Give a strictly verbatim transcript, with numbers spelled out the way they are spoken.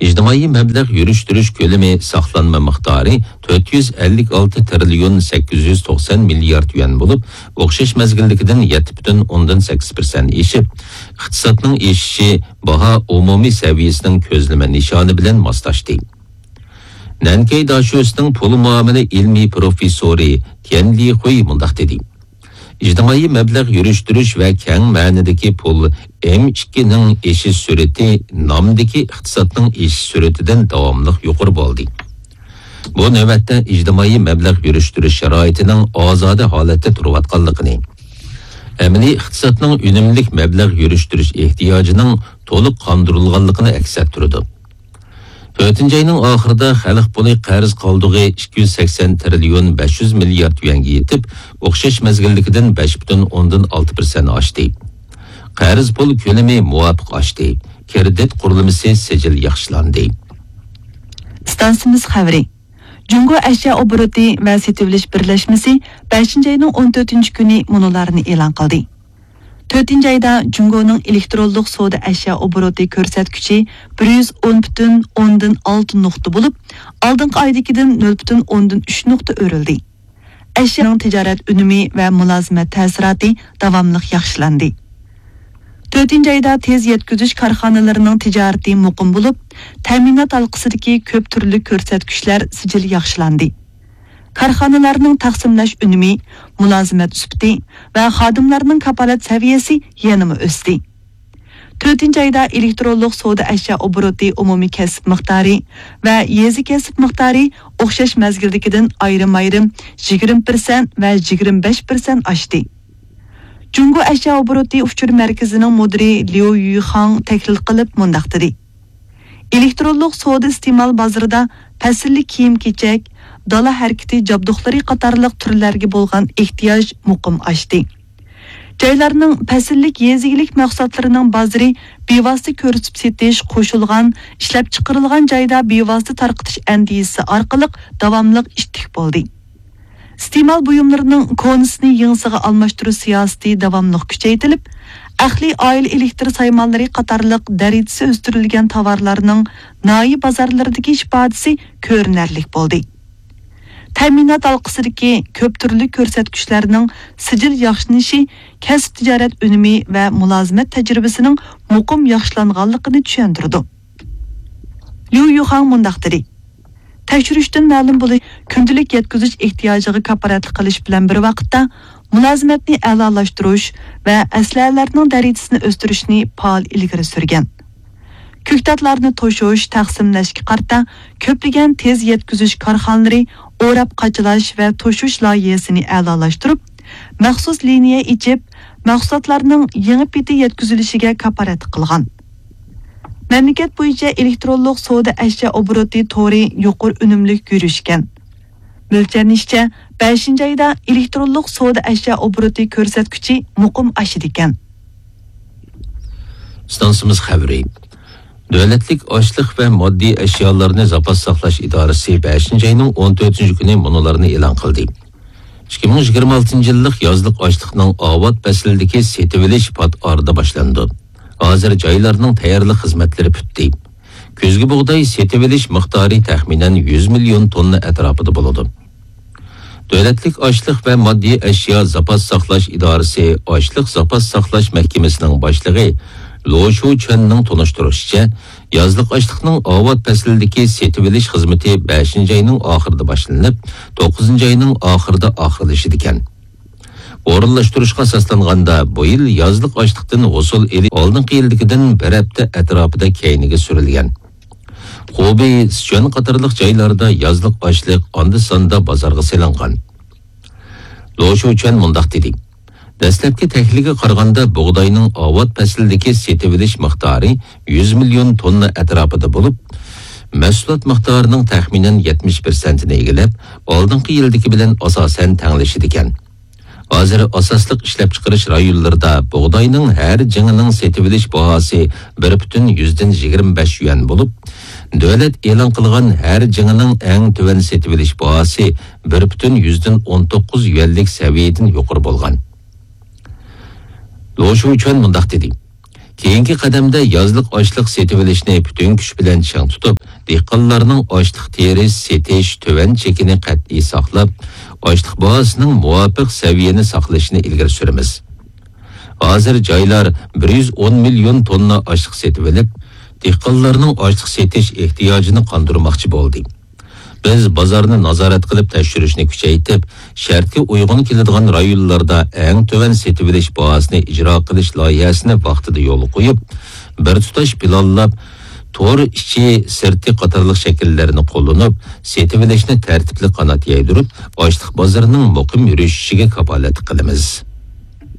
ئىجتىمائىي مەبلەغ يۈرۈشتۈرۈش كۆلىمى ساقلانما مىقدارى تۆت يۈز ئەللىك ئالتە تىرىليون سەككىز يۈز توقسان مىليارد يۈەن بولۇپ، ئوخشاش مەزگىلدىكىدىن يەتتە پۈتۈن ئوندىن سەككىز پىرسەنت ئېشىپ، ئىقتىسادنىڭ ئېشىشى باھا ئومۇمىي سەۋىيەسىنىڭ كۆزلىمە نىشانى بىلەن ماسلاشتى. نەنكەي داشۆسىنىڭ پۇل مۇئامىلە ئىلمىي پروفېسسورى تيەن لىخۇي مۇنداق دېدى: ئىجتىمائىي مەبلەغ يۈرۈشتۈرۈش ۋە كەڭ مەنىدىكى پۇل ئېم ئىككىنىڭ ئېشىش سۈرئىتى نامدىكى ئىقتىسادنىڭ ئېشىش سۈرئىتىدىن داۋاملىق يۇقىرى بولدى. بۇ نۆۋەتتە ئىجتىمائىي مەبلەغ يۈرۈشتۈرۈش شارائىتىنىڭ ئازادە ھالەتتە تۇرۇۋاتقانلىقىنى، ئەمەلىي ئىقتىسادنىڭ ئۈنۈملۈك مەبلەغ يۈرۈشتۈرۈش ئېھتىياجىنىڭ تولۇق قاندۇرۇلغانلىقىنى ئەكس ئەتتۈرىدۇ. تۆتىنچى ئاينىڭ ئاخىرىدا خەلق پۇلى قەرز قالدۇقى ئىككى يۈز سەكسەن تىرىليون بەش يۈز مىليارد يۈەنگە يېتىپ، ئوخشاش مەزگىلدىكىدىن بەش پۈتۈن ئوندىن ئالتە پىرسەنت ئاشتى. قەرز پۇل كۆلىمى مۇۋاپىق ئاشتى. كىرېدىت قۇرۇلمىسى سىجىل ياخشىلاندى. ئىستانسىمىز خەۋىرى. جۇڭگو ئەشيا ئوبوروتى ۋە سېتىۋېلىش بىرلەشمىسى بەشىنچى ئاينىڭ ئون تۆتىنچى كۈنى مۇنۇلارنى ئېلان قىلدى. تۆتىنچى ئايدا جۇڭگونىڭ ئېلېكترونلۇق سودا ئەشيا ئوبوروتى كۆرسەتكۈچى بىر يۈز ئون پۈتۈن ئوندىن ئالتە نۇقتا بولۇپ، ئالدىنقى ئايدىكىدىن نۆل پۈتۈن ئوندىن ئۈچ نۇقتا ئۆرۈلدى. ئەشيانىڭ تىجارەت ئۈنۈمى ۋە مۇلازىمەت تەسىراتى داۋاملىق ياخشىلاندى. تۆتىنچى ئايدا تېز يەتكۈزۈش كارخانىلىرىنىڭ تىجارىتى مۇقىم بولۇپ، تەمىنات ھالقىسىدىكى كۆپ تۈرلۈك كۆرسەتكۈچلەر سىجىل ياخشىلاندى. كارخانىلارنىڭ تەقسىملەش ئۈنۈمى، مۇلازىمەت سۈپىتى ۋە خادىملارنىڭ كاپالەت سەۋىيەسى يەنىمۇ ئۆستى. تۆتىنچى ئايدا ئېلېكترونلۇق سودا ئەشيا ئوبوروتى ئومۇمىي كەسىپ مىقدارى ۋە يېزا كەسىپ مىقدارى ئوخشاش مەزگىلدىكىدىن ئايرىم-ئايرىم يىگىرمە پىرسەنت ۋە يىگىرمە بەش پىرسەنت ئاشتى. جۇڭگو ئەشيا ئوبوروتى ئۇچۇر مەركىزىنىڭ مۇدىرى ليۇ يۈخاڭ تەھلىل قىلىپ مۇنداق دېدى: ئېلېكترونلۇق سودا ئىستېمال بازىرىدا پەسىللىك كىيىم-كېچەك، دالا ھەرىكىتى جابدۇقلىرى قاتارلىق تۈرلەرگە بولغان ئېھتىياج مۇقىم ئاشتى. جايلارنىڭ پەسىللىك يېزا ئىگىلىك مەھسۇلاتلىرىنىڭ بازىرى بىۋاسىتە كۆرسىتىپ سېتىش، قوشۇلغان ئىشلەپچىقىرىلغان جايدا بىۋاسىتە تارقىتىش ئەندىزىسى ئارقىلىق داۋاملىق ئىتتىك بولدى. ئىستېمال بۇيۇملىرىنىڭ كونىسىنى يېڭىسىغا ئالماشتۇرۇش سىياسىتى داۋاملىق كۈچەيتىلىپ، ئەقلىي ئائىلە ئېلېكتر سايمانلىرى قاتارلىق دەرىجىسى ئۆستۈرۈلگەن تاۋارلارنىڭ ناھىيە بازارلىرىدىكى ئىپادىسى كۆرۈنەرلىك بولدى. تەمىنات ھالقىسىدىكى كۆپ تۈرلۈك كۆرسەتكۈچلەرنىڭ سىجىل ياخشىلىنىشى كەسىپ تىجارەت ئۈنۈمى ۋە مۇلازىمەت تەجرىبىسىنىڭ مۇقىم ياخشىلانغانلىقىنى چۈشەندۈرىدۇ. ليۇ يۈخاڭ مۇنداق دېدى: تەكشۈرۈشتىن مەلۇم بولۇش، كۈندىلىك يەتكۈزۈش ئېھتىياجىغا كاپالەتلىك قىلىش بىلەن بىر ۋاقىتتا، مۇلازىمەتنى ئەلالاشتۇرۇش ۋە ئەسلىھەلەرنىڭ دەرىجىسىنى ئۆستۈرۈشنى پائال ئىلگىرى سۈرگەن. كۆكتاتلارنى توشۇش، تەقسىملەشكە قارىتا كۆپلىگەن تېز يەتكۈزۈش كارخانىلىرى ئوراپ قاچىلاش ۋە توشۇش لايىھەسىنى ئەلالاشتۇرۇپ، مەخسۇس لىنىيە ئېچىپ، مەھسۇلاتلارنىڭ يېڭى پېتى يەتكۈزۈلۈشىگە كاپالەتلىك قىلغان. مەملىكەت بويىچە ئېلېكترونلۇق سودا ئەشيا ئوبوروتى تورى يۇقىرى ئۈنۈملۈك يۈرۈشكەن. مۆلچەرلىنىشىچە، بەشىنچى ئايدا ئېلېكترونلۇق سودا ئەشيا ئوبوروتى كۆرسەتكۈچى مۇقىم ئاشىدىكەن. ئىستانسىمىز خەۋىرى. دۆلەتلىك ئاشلىق ۋە ماددىي ئەشيالارنى زاپاس ساقلاش ئىدارىسى بەشىنچى ئاينىڭ ئون تۆتىنچى كۈنى مۇنۇلارنى ئېلان قىلدى. ئىككى مىڭ يىگىرمە ئالتىنچى يىللىق يازلىق ئاشلىقنىڭ ئاۋات پەسلىدىكى سېتىۋېلىش پات ئارىدا باشلىنىدۇ. ھازىر جايلارنىڭ تەييارلىق خىزمەتلىرى پۈتتى. كۈزگى بۇغداي سېتىۋېلىش مىقدارى تەخمىنەن يۈز مىليون توننا ئەتراپىدا بولىدۇ. دۆلەتلىك ئاشلىق ۋە ماددىي ئەشيا زاپاس ساقلاش ئىدارىسى ئاشلىق زاپاس ساقلاش مەھكىمىسىنىڭ باشلىقى لو شۇچۈەننىڭ تونۇشتۇرۇشىچە، يازلىق ئاشلىقنىڭ ئاۋات پەسلىدىكى سېتىۋېلىش خىزمىتى بەشىنچى ئاينىڭ ئاخىرىدا باشلىنىپ، توققۇزىنچى ئاينىڭ ئاخىرىدا ئاخىرلىشىدىكەن. ئورۇنلاشتۇرۇشقا ئاساسلانغاندا، بۇ يىل يازلىق ئاشلىقتىن ھوسۇل ئېلىش ئالدىنقى يىلدىكىدىن بىر ھەپتە ئەتراپىدا كەينىگە سۈرۈلگەن. خۇبېي، سىچۈەن قاتارلىق جايلاردا يازلىق ئاشلىق ئاندا-ساندا بازارغا سېلىنغان. لو شۇچۈەن مۇنداق دېدى: دەسلەپكى تەھلىلگە قارىغاندا، بۇغداينىڭ ئاۋات پەسلىدىكى سېتىۋېلىش مىقدارى يۈز مىليون توننا ئەتراپىدا بولۇپ، مەھسۇلات مىقدارىنىڭ تەخمىنەن يەتمىش پىرسەنتىنى ئىگىلەپ، ئالدىنقى يىلدىكى بىلەن ئاساسەن تەڭلىشىدىكەن. ھازىر ئاساسلىق ئىشلەپچىقىرىش رايونلىرىدا بۇغداينىڭ ھەر جىڭىنىڭ سېتىۋېلىش باھاسى بىر پۈتۈن يۈزدىن يىگىرمە بەش يۈەن بولۇپ، دۆلەت ئېلان قىلغان ھەر جىڭىنىڭ ئەڭ تۆۋەن سېتىۋېلىش باھاسى بىر پۈتۈن يۈزدىن ئون توققۇز يۈەنلىك سەۋىيەدىن يۇقىرى بولغان. لو شۇچۈەن مۇنداق دېدى: كېيىنكى قەدەمدە يازلىق ئاشلىق سېتىۋېلىشنى پۈتۈن كۈچ بىلەن چىڭ تۇتۇپ، دېھقانلارنىڭ ئاشلىق تېرىش، سېتىش تۆۋەن چېكىنى قەتئىي ساقلاپ، ئاشلىق باھاسىنىڭ مۇۋاپىق سەۋىيەنى ساقلىشىنى ئىلگىرى سۈرىمىز. ھازىر جايلار بىر يۈز ئون مىليون توننا ئاشلىق سېتىۋېلىپ، دېھقانلارنىڭ ئاشلىق سېتىش ئېھتىياجىنى قاندۇرماقچى بولدى. بىز بازارنى نازارەت قىلىپ تەكشۈرۈشنى كۈچەيتىپ، شەرتكە ئۇيغۇن كېلىدىغان رايونلاردا ئەڭ تۆۋەن سېتىۋېلىش باھاسىنى ئىجرا قىلىش لايىھەسىنى ۋاقتىدا يولغا قويۇپ، بىر تۇتاش پىلانلاپ، تور ئىچى، سىرتى قاتارلىق شەكىللەرنى قوللىنىپ، سېتىۋېلىشنى تەرتىپلىك قانات يايدۇرۇپ، ئاشلىق بازىرىنىڭ مۇقىم يۈرۈشۈشىگە كاپالەتلىك قىلىمىز.